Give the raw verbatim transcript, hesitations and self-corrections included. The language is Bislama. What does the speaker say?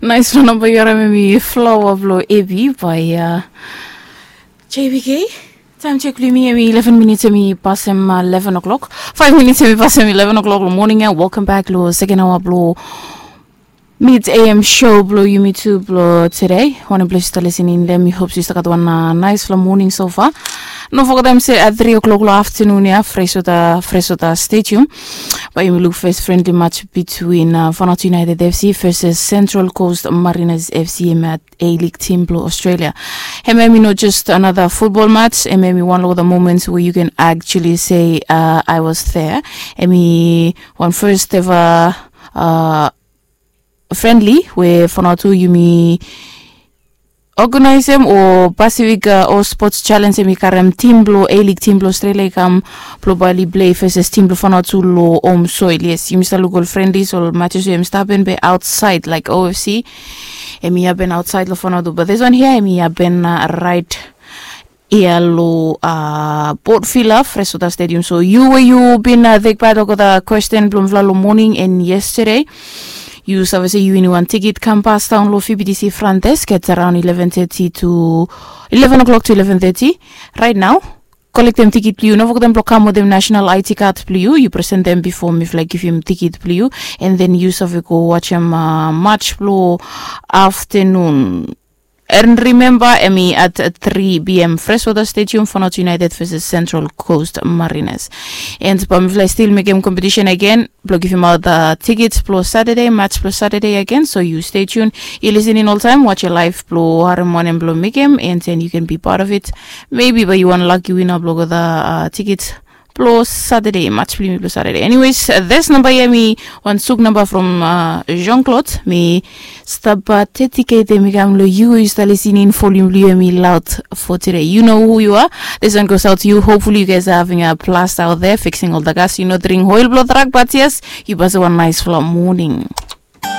Nais flo namba yu harim em i flower blo ebi bai. Jbk. Taim jek blo yumi em i eleven minits em i pasem eleven o'clock. Five minits em i pasem eleven o'clock lo moning ya. Welcome back lo second hour blo mid am show blo yumi tu blo today. Wanem ples yu stap lisin in long mi hope yu stap gat wan nais flo moning so far. No fogetem se at three o'clock lo afternoon ya, fresota fresota stadium, bai yumi luk first friendly match between Fanatu United FC versus Central Coast Mariners FC em at A League team blo Australia. Em em i no just another football match, em em i one of the moments where you can actually say, uh, I was there. Em i one first ever uh, friendly we Fanatu yumi organizem o Pacific uh, o Sports Challenge em i karem team blo A League team blo Australia i kam blo bali play versus team blo Fanatu lo home soil. Yes, yumi stap luk ol friendlies ol matches we em stap happen be outside like OFC. Em i happen outside lo Fanatu, but this one here em i happen uh, right ia lo uh, Port Vila Fresota Stadium. So yu we yu bin uh, take part of the question blo mifala lo morning and yesterday. Yu save se yu wini wan tikit kam pas daon lo VBTC front desk at around eleven thirty to eleven o'clock to eleven thirty right now. Kolektem tikit blo yu, no fogetem blo kam wetem national ID card blo yu, yu presentem bifo mifala givim tikit blo yu, and then yu save go wajem uh, match blo afternoon. And remember em i at three pm Freshwater Stadium, Fanatu United versus Central Coast Mariners. And bai mifala still mekem competition again blo givim out the tickets blo Saturday, match blo Saturday again. So you stay tuned, you listening all time, watch your live blo harim wanem blo mekem, and then you can be part of it. Maybe bai yu wan lucky winner blo gat the uh, tickets blo Saturday, match blo yumi blo Saturday. Anyways, uh, this number ia mi wan suk namba from uh, Jean Claude. Mi stap uh, dedicate mi kam lo yu, yu stap listening, volume blo yu em i loud for today. You know who you are. This one goes out to you. Hopefully you guys are having a blast out there fixing all the gas. You know, drink oil blo truck, but yes, yu basa wan nice flo morning.